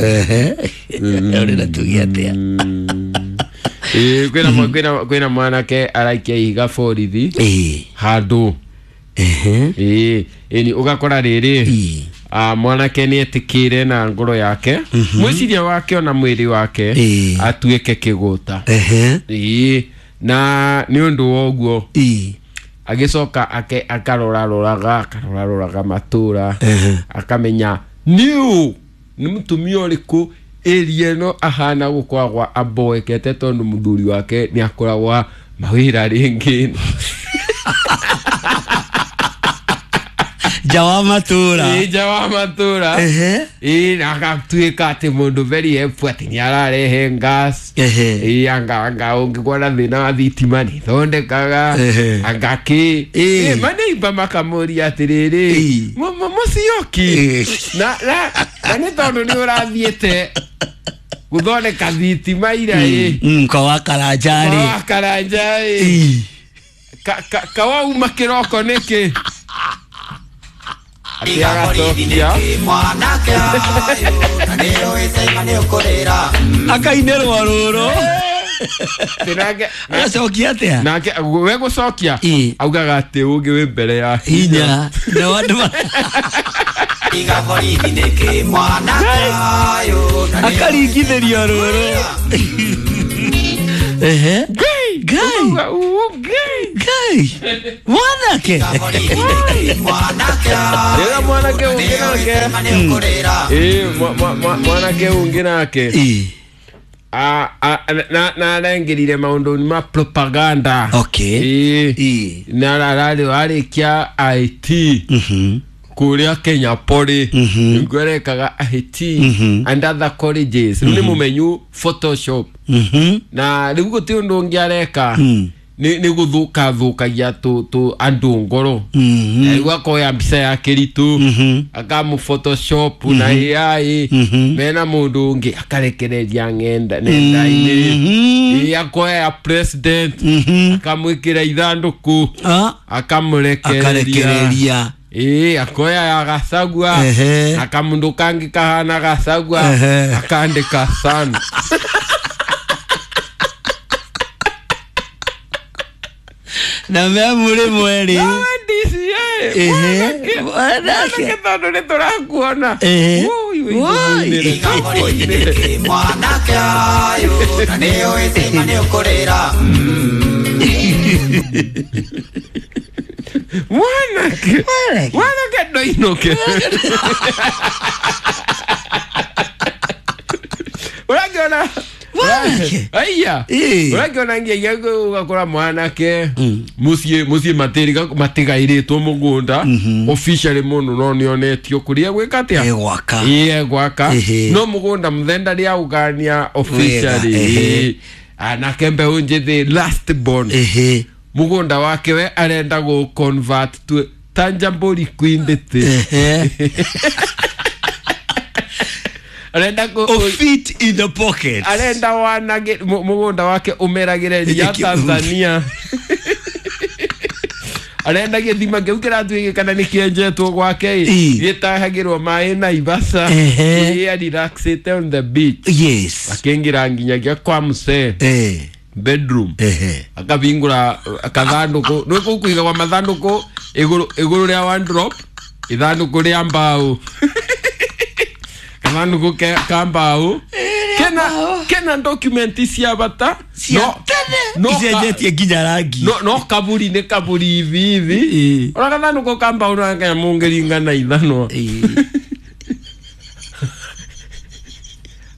Ehe. Ũrĩ na tuge atĩa? Ĩĩ, kwĩna mwanake araikia ihiga borithi Ĩĩ. handũ. Ehe. Ĩĩ, ĩni ũgakora rĩrĩ, Ĩĩ. mwanake nĩ etĩkĩre na ngoro yake, mwĩciria wake ona mwĩrĩ wake, Ĩĩ. atuĩke kĩgũta. Ehe. Ĩĩ, na nĩ ũndũ wa ũguo Ĩĩ. agĩcoka ake akaroraroraga akaroraroraga matũra, Ehe. akamenya nĩũ nĩ mũtumia ũrĩkũ ĩria ĩno ahana gũkoragwo amboekete, tondũ mũthuri wake nĩ akoragwa mawĩra rĩngĩ Nja wa matũra. Ĩ, nja wa matũra. Ehe. Ĩ, na agatuĩka atĩ mũndũ very helpful, atĩ nĩ ararehe gas. Ehe. Ĩ, anga ũngĩkorwo na thĩna wa thitima nĩ thondekaga. Ehe. Anga kĩ. Ĩ. Ĩ, maneiba makamũria atĩrĩrĩ, Ĩ. Mũcioki, Ĩ. na nĩ tondũ nĩ ũrathiĩte gũthondeka thitima ira ĩ, Kwa wa Karanja rĩ. wa Karanja ĩ, Ĩĩ. Kawauma kĩroko nĩkĩ atĩ agacokia. Mwanake ũyũ na nĩũĩ caima nĩũkũrĩra. Akainĩrwo rũrũ. Atĩ Agacokia atĩa? Nake we gũcokia Ĩ. augaga atĩ ũngĩ wĩ mbere ya Hinya na andũ Iga borithi nĩkĩ mwanake ũyũ na nĩũĩ akaringithĩrio rũrũ. Ehe. Ngai. Ngai. Ũkauga, "Uu, Ngai." Ngai mwanake. Borithi nĩkĩ mwanake Rĩrĩa mwanake ũyũ na ũngĩ nĩũĩ nake caima nĩũkũrĩra. Ĩ, mwanake ũngĩ nake Ĩĩ. na arengĩrire maũndũ ma propaganda. Okay. Ĩ. Ĩĩ. Na ararĩ arĩkia IT kũrĩa Kenya Poly, nĩguo arekaga IT and other colleges. Rĩu nĩ mũmenyu Photoshop, na rĩu gũtirĩ ũndũ ũngĩ areka, nĩ gũthũka thũkagia tũ andũ ngoro. Na rĩu akoya mbica ya kĩritũ, akamũ Photoshop na AI mena mũndũ ũngĩ, akarekereria nenda-inĩ. Ĩ, akoya ya president, akamwĩkĩra ithandũkũ, Ah, akamũrekereria. Akarekereria. Ĩ, akoya ya Gacagua, Ehe. na kamũndũ kangĩ kahana Gacagua, Ehe. akandĩka sana. Na me mũrĩ mwerĩ. Nawe DCA, Ehe. mwanake, Mwanake. mwanake, tondũ nĩ tũrakuona. Ehe. Woi, woi, Woi. tũkũinĩre, Iga borithi tũkũinĩre. nĩkĩ mwanake ũyũ na nĩũĩ caima nĩũkũrĩra. Mwanake. Mwanake. Mwanake ndoinũke. Ũrakĩona? Mwanake. Aiya. Ĩ. Ũrakĩona nginya ũgakora mwanake mũciĩ matigairĩtwo mũgũnda officially mũno, no nĩonetio kũrĩa gwĩka atĩa. Ĩ, gwaka. Ĩ, gwaka. Ehe. No mũgũnda mũthenda rĩaũgania officially. Wega, ehe. Ĩ. Anake mbeũ njĩthĩ, last born, Ehe. mũgũnda wake we arenda gũ convert to tangible liquidity. Ehe. Arenda kũ O fit in the pocket. Arenda wanage mũgũnda wake ũmeragĩre ria Tanzania. Arenda gĩthima kĩu kĩratuĩke kana nĩ kĩenjetwo gwake ĩ, Ĩ. gĩtahagĩrwo maĩ Naivasha. Ehe. Ĩ, arelaxĩte on the beach, Yes. akĩingĩra nginyagia kwa msee Eh. bedroom, Ehe. akabingũra kathandũkũ, nĩ kũu kũigagwa mathandũkũ igũrũ rĩa wardrobe, ithandũkũ rĩa mbaũ, kathandũkũ ka mbaũ kena document cia bata. Cia tene. No Icenjetie nginya rangi. No kaburi nĩ kaburi hivi hivi. Ĩ. Ona kathandũkũ ka mbaũ no kanyamũ na ithanwa. Ĩ.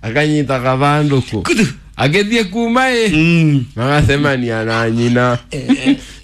Akanyita kathandũkũ Kutu. agĩthiĩ kuma ĩ, magacemania na nyina.